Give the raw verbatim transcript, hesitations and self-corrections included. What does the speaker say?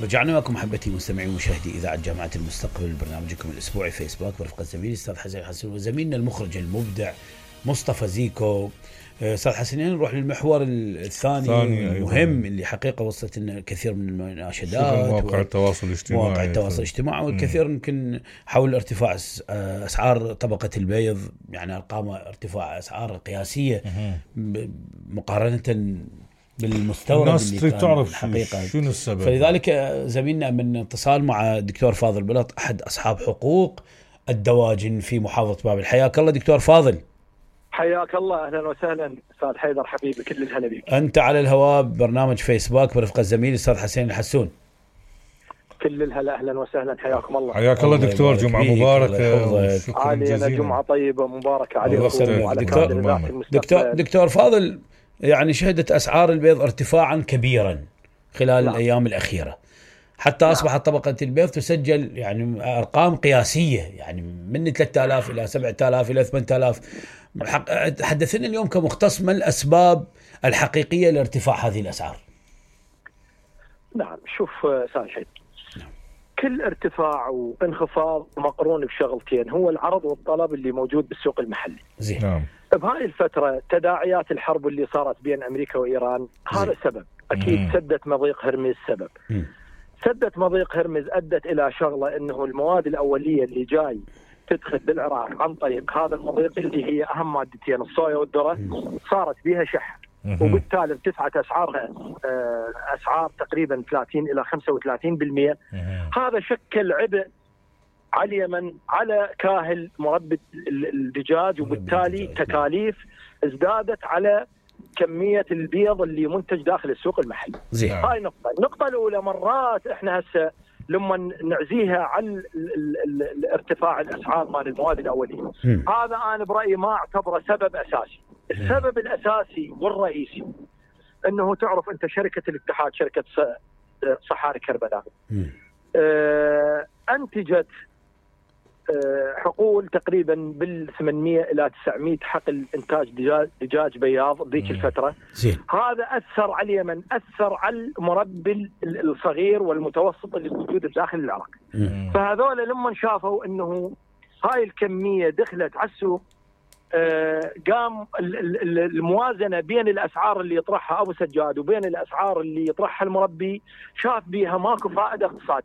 رجعنا لكم محبتي مستمعي ومشاهدي إذاعة جامعة المستقبل، برنامجكم الأسبوعي فيسبوك برفقة زميلي أستاذ حسن الحسن وزميلنا المخرج المبدع مصطفى زيكو. أستاذ حسنين، نروح للمحور الثاني المهم اللي حقيقة وصلت لنا الكثير من المناشدات، مواقع التواصل الاجتماعي مواقع التواصل الاجتماعي والكثير يمكن حول ارتفاع أسعار طبقة البيض، يعني أرقام ارتفاع أسعار قياسية مقارنة بالمستورد. الناس اللي تريد تعرف حقيقة شنو السبب، فلذلك زميلنا من اتصال مع دكتور فاضل بلط أحد أصحاب حقوق الدواجن في محافظة بابل. حياك الله دكتور فاضل. حياك الله، أهلا وسهلا أستاذ حيدر حبيبي، كل الهلا بك. أنت على الهواء برنامج فيسبوك برفقة زميلي الأستاذ حسين الحسون. كل الهلا، أهلا وسهلا، حياكم الله. حياك الله دكتور، جمعة مباركة. علينا جمعة طيبة مباركة عليكم وعلى دكتور, دكتور, دكتور فاضل، يعني شهدت أسعار البيض ارتفاعا كبيرا خلال لا. الأيام الأخيرة، حتى لا. أصبحت طبقة البيض تسجل يعني أرقام قياسية، يعني من ثلاثة آلاف إلى سبعة آلاف إلى ثمانية آلاف. حدثنا اليوم كمختص ما الأسباب الحقيقية لارتفاع هذه الأسعار؟ نعم، شوف أستاذ حيدر، كل ارتفاع وانخفاض مقرون بشغلتين، هو العرض والطلب اللي موجود بالسوق المحلي. زين. نعم. بهاي الفترة تداعيات الحرب اللي صارت بين أمريكا وإيران هذا سبب، أكيد. مم. سدة مضيق هرمز سبب. مم. سدة مضيق هرمز أدت إلى شغلة أنه المواد الأولية اللي جاي تدخل بالعراق عن طريق هذا المضيق اللي هي أهم مادتين الصويا والذرة صارت بها شح، وبالتالي ارتفعت أسعارها أسعار تقريبا ثلاثين إلى خمسة وثلاثين بالمئة. هذا شكل عبء على اليمن، على كاهل مربي الدجاج، وبالتالي تكاليف ازدادت على كمية البيض اللي منتج داخل السوق المحلي. زي. هاي نقطة. النقطة الأولى، مرات احنا هسه لما نعزيها على ارتفاع الأسعار مال المواد الأولية، هذا أنا برأيي ما أعتبره سبب أساسي. السبب الأساسي والرئيسي أنه تعرف أنت شركة الاتحاد، شركة صحاري كربلاء، اه أنتجت اه حقول تقريبا بال ثمانمئة إلى تسعمئة حقل إنتاج دجاج, دجاج بياض ذيك الفترة. زين. هذا أثر على اليمن، أثر على المربي الصغير والمتوسط اللي موجود داخل العراق. فهذول لما شافوا أنه هاي الكمية دخلت على السوق، آه قام الموازنة بين الأسعار اللي يطرحها أبو سجاد وبين الأسعار اللي يطرحها المربي، شاف بيها ماكو فائدة اقتصادية.